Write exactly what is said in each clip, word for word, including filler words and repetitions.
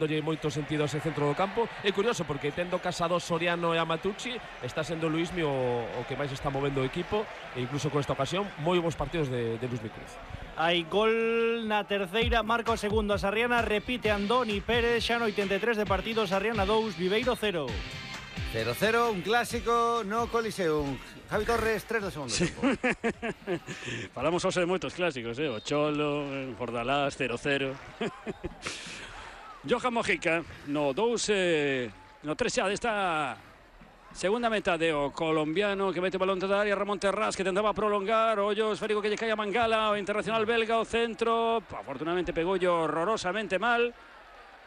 Dolle moito sentido ese centro do campo. É curioso porque tendo Casado, Soriano e Amatucci, está sendo Luismi o, o que máis está movendo o equipo, e incluso con esta ocasión moi bons partidos de, de Luismi Cruz. Hai gol na terceira, marca o segundo a Sarriana, repite Andoni Pérez, xa no oitenta e tres de partido, Sarriana dous, Viveiro cero. cero cero, un clásico no Coliseum. Javi Torres, tres do segundo sí. tempo. Falamos hoxe de moitos clásicos, eh? O Cholo, o Bordalás, cero cero. Johan Mojica, no dous, eh, no tres xa desta segunda metade, o colombiano que mete o balón toda área, Ramón Terrás, que tentaba prolongar, o ollo esférico que lle cae a Mangala, o internacional belga, o centro, afortunadamente pegou horrorosamente mal,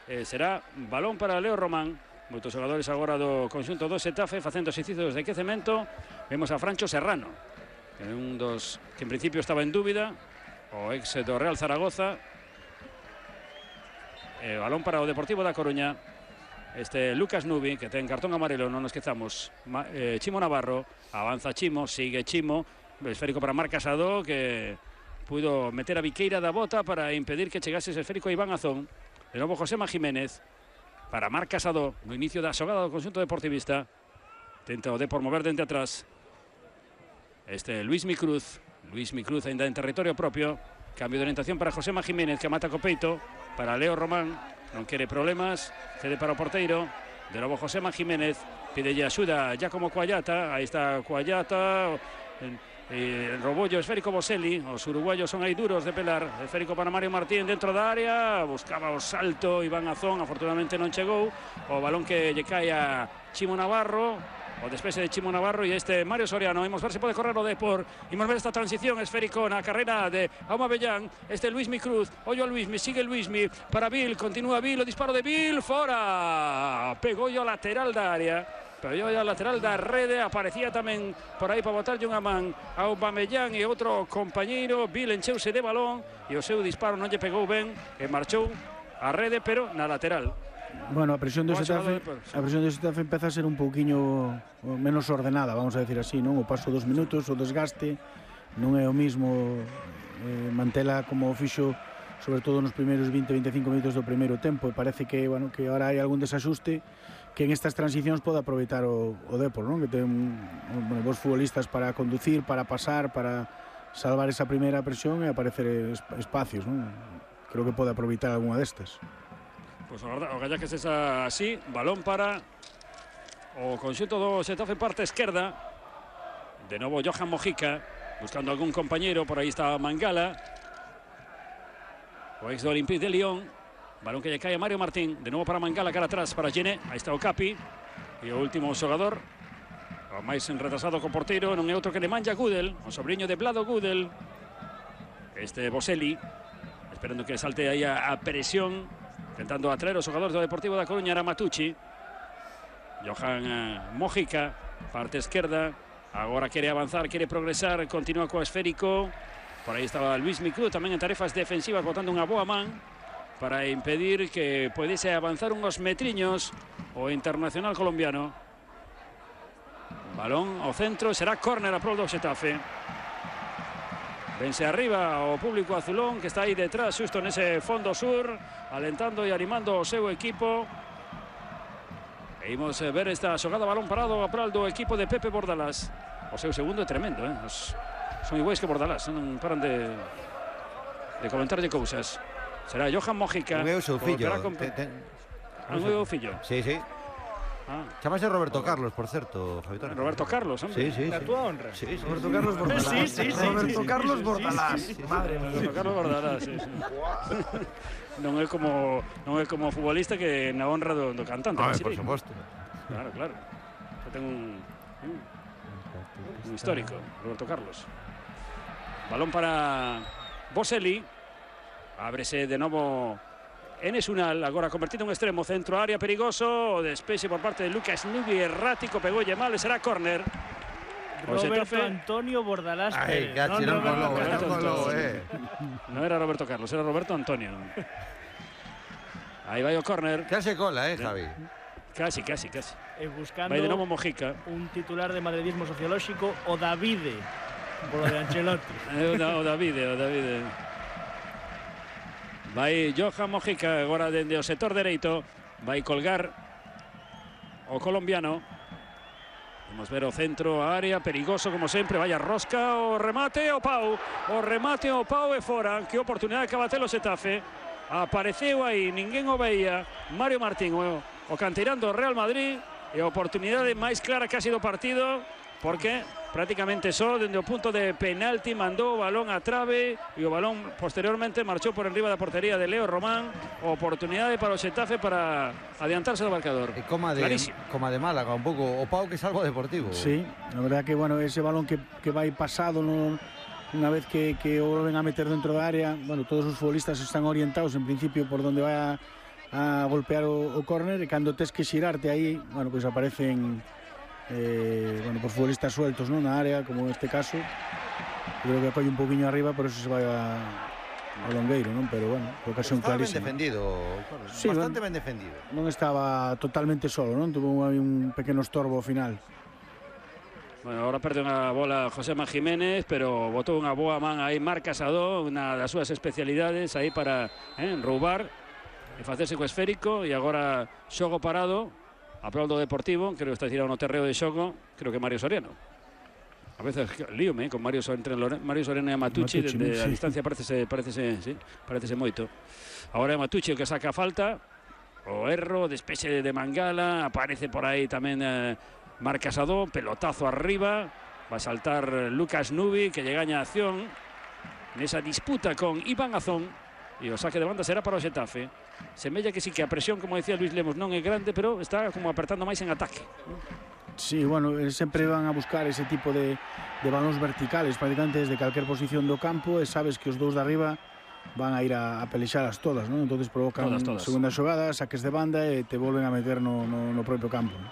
eh, será balón para Leo Román. Moitos xogadores agora do conxunto do Xetafe facendo exercicios de quecemento. Vemos a Francho Serrano, que é un dos que en principio estaba en dúbida, o ex do Real Zaragoza. Eh, balón para o Deportivo da Coruña. Este Lucas Nubi, que ten cartón amarelo, non nos quezamos. Ma, eh, Chimo Navarro, avanza Chimo, sigue Chimo, esférico para Marc Casado, que pudo meter a Viqueira da bota para impedir que chegase ese esférico a Iván Azón. De novo Josema Jiménez para Marc Casado, no inicio da xogada do conxunto deportivista. Tenta o Depor mover dente atrás. Este Luismi Cruz, Luismi Cruz ainda en territorio propio. Cambio de orientación para Josema Jiménez, que mata co peito. Para Leo Román, non quere problemas, cede para o porteiro. De novo Josema Jiménez, pidelle axuda ya como Cuallata. Aí está Cuallata, e robollo esférico Boselli. Os uruguayos son aí duros de pelar. Esférico para Mario Martín dentro da área, buscaba o salto Iván Azón, afortunadamente non chegou. O balón que lle cae a Chimo Navarro, o despexe de Chimo Navarro, e este Mario Soriano. Imos ver se pode correr o Depor. Imos ver esta transición esférico na carrera de Aumabellán. Este Luismi Cruz, ollo a Luismi, sigue Luismi para Vil, continúa Vil, o disparo de Vil, fora. Pegou o lateral da área, pegou o lateral da rede. Aparecía tamén por aí para botarlle unha man a Aumabellán e outro compañeiro. Vil encheuse de balón e o seu disparo non lle pegou ben e marchou a rede, pero na lateral. Bueno, a presión do Xetafe, a presión do Xetafe empeza a ser un pouquiño menos ordenada, vamos a decir así, non? O paso dos minutos, o desgaste, non é o mismo eh, mantela como o fixo, sobre todo nos primeiros vinte a veinticinco minutos do primeiro tempo, e parece que, bueno, que ahora hai algún desaxuste que en estas transicións pode aproveitar o, o Depor, non? Que ten, bueno, vos futbolistas para conducir, para pasar, para salvar esa primeira presión e aparecer espacios, non? Creo que pode aproveitar algunha destas. Pois pues, o galla que se xa así, balón para o conxunto do Xetafe parte esquerda. De novo Johan Mojica, buscando algún compañeiro, por aí está Mangala, o ex do Olympique de Lyon. Balón que lle cae a Mario Martín, de novo para Mangala, cara atrás para Gené, aí está o Capi, e o último xogador, o máis retrasado co porteiro, non é outro que Nemanja Gudel, o sobrinho de Vlado Gudel, este Boselli, esperando que salte aí a, a presión, tentando atraer os xogadores do Deportivo da Coruña. Era Matucci. Johan eh, Mojica, parte esquerda, agora quere avanzar, quere progresar, continúa co esférico. Por aí estaba Luismi Cruz tamén en tarefas defensivas, botando unha boa man para impedir que podese avanzar unhos metriños o internacional colombiano. Balón ao centro, será córner a prol do Xetafe. Vense arriba o público azulón que está aí detrás, xusto nese fondo sur, alentando e animando o seu equipo. E imos ver esta xogada, balón parado a prol do equipo de Pepe Bordalás. O seu segundo é tremendo, eh? Os, son iguais que Bordalás, non paran de, de comentarlle cousas. Será Johan Mojica. Un é o seu fillo. Con... Ten, ten... Un é o fillo. Sí, sí. Ah. Chámase Roberto Carlos, por certo, Javi Torres. Roberto Carlos, hombre. Sí, sí, Na sí. túa honra. Sí, sí. Roberto Carlos Bordalás. Sí, sí, sí, Roberto sí, Carlos sí, Bordalás. sí, sí, sí. Madre mía. Roberto Carlos Bordalás, sí, sí. Non é como non é como futbolista que na honra do, do cantante. Ah, sí, por suposto. Claro, claro. Eu ten un, un un histórico, Roberto Carlos. Balón para Boselli. Ábrese de novo Enes Unal, agora convertido en extremo, centro área perigoso, o despexe por parte de Lucas Nubi, errático, pegoulle mal, e será córner. Roberto Antonio Bordalás Ay, Pérez. cachi, non colou, non colou, eh. Non era Roberto Carlos, era Roberto Antonio. Aí vai o córner. Case cola, eh, Javi. Casi, casi, casi. E buscando vai de novo Mojica. un titular de madridismo sociolóxico, o Davide, polo de Ancelotti. O, da, o Davide, o Davide. Vai Johan Mojica agora dende o sector dereito. Vai colgar o colombiano. Vamos ver o centro, a área, perigoso como sempre. Vaya rosca, o remate, o Pau. O remate, o Pau e fora. Que oportunidade que batelo Xetafe. Apareceu aí, ninguén o veía. Mario Martín, o, o canteirán do Real Madrid. E a oportunidade máis clara que ha sido partido. Porque prácticamente só dende o punto de penalti mandou o balón a trave e o balón posteriormente marchou por enriba da portería de Leo Román. Oportunidade para o Xetafe para adiantarse do marcador. E coma de, coma de Málaga, un pouco o Pau que salvo deportivo. Sí, a verdad que bueno, ese balón que, que vai pasado no, unha vez que, que o volven a meter dentro da área, bueno, todos os futbolistas están orientados en principio por donde vai a, a golpear o, o córner, e cando tes que xirarte aí, bueno, pois pues aparecen Eh, bueno, por futbolistas sueltos, ¿no? Na área, como en este caso. Creo que acolle un poquinho arriba, por eso se vai a, a Longueiro, ¿no? Pero bueno, ocasión clarísima. Ben defendido, sí, bastante ben defendido. Non estaba totalmente solo, ¿no? Tuvo aí un pequeno estorbo ao final. Bueno, ahora perde unha bola Josema Jiménez, pero botou unha boa man aí Marc Casado, unha das súas especialidades aí para eh, roubar e facerse co esférico, e agora xogo parado. Aplaudo Deportivo, creo que está tirado no terreo de xogo, creo que Mario Soriano. A veces líome eh, con Mario, entre Mario Soriano e Matucci, Matucci desde sí. A distancia parecese, parecese, sí, parecese moito. Agora é Matucci o que saca a falta, o erro, despexe de Mangala, aparece por aí tamén eh, Marc Casado, pelotazo arriba, va a saltar Lucas Nubi, que lle gaña a acción nesa disputa con Iván Azón, e o saque de banda será para o Xetafe. Semella que sí que a presión, como decía Luis Lemos, non é grande, pero está como apertando máis en ataque. Sí, bueno, sempre van a buscar ese tipo de, de balóns verticales prácticamente desde calquer posición do campo, e sabes que os dous de arriba van a ir a, a pelexalas todas, ¿no? Entonces provocan todas, todas. Segunda xogada, saques de banda e te volven a meter no, no, no propio campo, ¿no?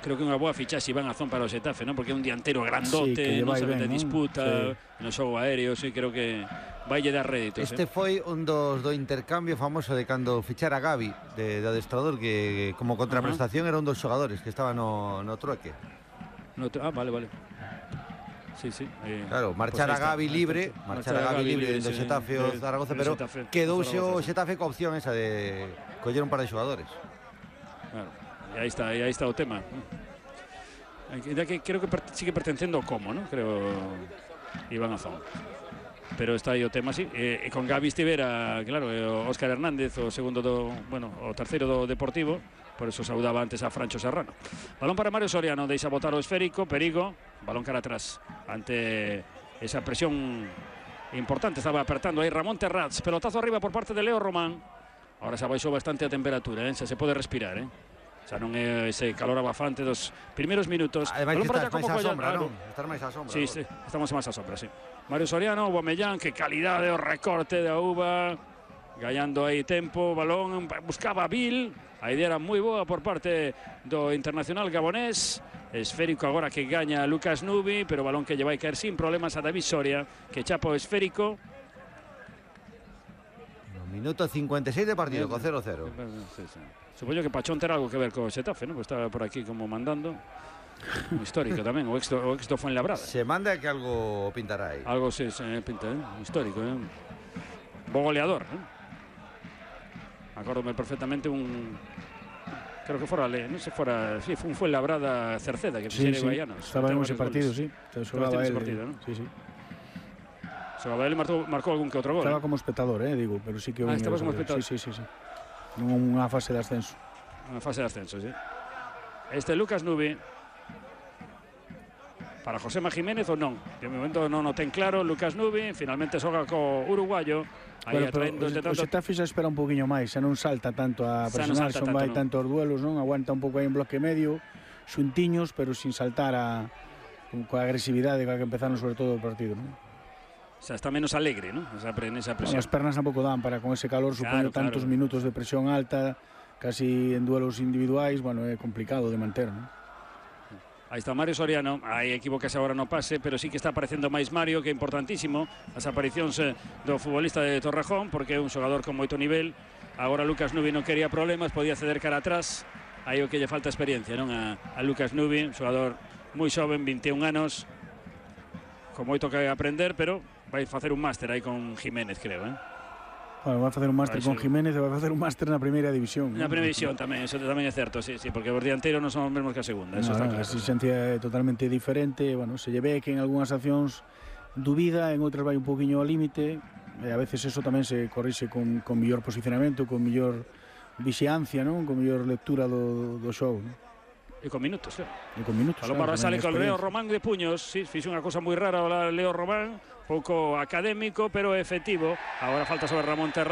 Creo que unha boa fichaxe Iván Azón para o Xetafe, ¿no? Porque é un dianteiro grandote, sí, non sabe de disputa, sí. No xogo aéreo, sí, creo que vai lle dar réditos. Este eh? foi un dos do intercambio famoso de cando fichara a Gavi de, de adestrador, que como contraprestación uh -huh. era un dos xogadores que estaba no, no trueque. No, ah, vale, vale. Sí, sí. Eh, claro, marchar pues a Gavi libre, marchar a Gavi libre dentro do Xetafe o Zaragoza, pero quedouse o Xetafe coa opción esa de coller un par de xogadores. Claro. E aí está, e aí está o tema. Ainda que creo que sigue pertencendo ao Como, ¿no? Creo Iván Azón. Pero está aí o tema, sí. E, e con Gavi estivera, claro, o Óscar Hernández, o segundo do, bueno, o terceiro do Deportivo, por eso saudaba antes a Francho Serrano. Balón para Mario Soriano, deixa botar o esférico, perigo, balón cara atrás ante esa presión importante, estaba apertando aí Ramón Terrats, pelotazo arriba por parte de Leo Román. Ahora se abaixou bastante a temperatura, eh? Se pode respirar, eh? Xa non é ese calor abafante dos primeiros minutos. Ademais que estás máis á sombra, non? Estás máis á sombra. Sí, sí, estamos máis á sombra, sí. Mario Soriano, Aubameyang, que calidade o recorte da uva, gallando aí tempo, balón, buscaba Bill, a idea era moi boa por parte do internacional gabonés, esférico agora que gaña Lucas Nubi, pero balón que lle vai caer sin problemas a David Soria, que chapa o esférico. Minuto cincuenta y seis de partido, con cero cero. Sí, sí. Supoño que Pachón terá algo que ver co Xetafe, ¿no? Pues está por aquí como mandando. Un histórico tamén, o ex do, o ex do Fuenlabrada. Se manda que algo pintará aí. Algo se, se pinta, ¿eh? Histórico, ¿eh? Bo goleador, ¿eh? Acórdome perfectamente un... Creo que fora, non se fora... Sí, fue un Fuenlabrada Cerceda, que sí, sí. Guayana. Estaba en ese partido, goles. Sí. Estaba en ese partido, ¿no? Sí, sí. Sabadell marcou, marcou algún que outro gol. Estaba como espectador, eh, digo, pero sí que... Ah, estaba como espectador. Sí, sí, sí, sí. Unha fase de ascenso. Unha fase de ascenso, sí. Este Lucas Nubi. Para Josema Jiménez ou non? De momento non o ten claro. Lucas Nubi finalmente xoga co uruguayo. Aí bueno, atraendo este tanto... O Xetafe xa espera un poquinho máis, xa non salta tanto a presionar, non vai tanto os duelos, non? Aguanta un pouco aí en bloque medio, xuntiños, pero sin saltar a coa agresividade coa que empezaron sobre todo o partido, non? O sea, está menos alegre, ¿no? Esa, esa presión. Bueno, as pernas tampouco dan para con ese calor, supoño, claro, tantos claro. minutos de presión alta, casi en duelos individuais, bueno, é complicado de manter, ¿no? Aí está Mario Soriano, aí equivocase agora no pase, pero sí que está aparecendo máis Mario, que é importantísimo as aparicións do futbolista de Torrejón, porque é un xogador con moito nivel. Agora Lucas Nubi non quería problemas, podía ceder cara atrás, aí o que lle falta experiencia, non? A, a Lucas Nubi, un xogador moi xoven, vinte e un anos, con moito que aprender, pero vai facer un máster aí con Jiménez, creo, eh? Bueno, vai facer un máster con Jiménez e vai facer un máster na primeira división. Na primeira división tamén, eso tamén é certo, sí, sí, porque os dianteiros non son os mesmos que a segunda, eso no, está no, claro. A exigencia é totalmente diferente, bueno, se lle ve que en algunhas accións dubida, en outras vai un poquinho ao límite, e a veces eso tamén se corrixe con, con mellor posicionamento, con mellor vixiancia, non? Con mellor lectura do, do xogo, non? E con minutos, claro. E con minutos, Balón claro, para sale con Leo Román de puños, sí, fixe unha cosa moi rara o Leo Román, pouco académico, pero efectivo. Agora falta sobre Ramón Terra.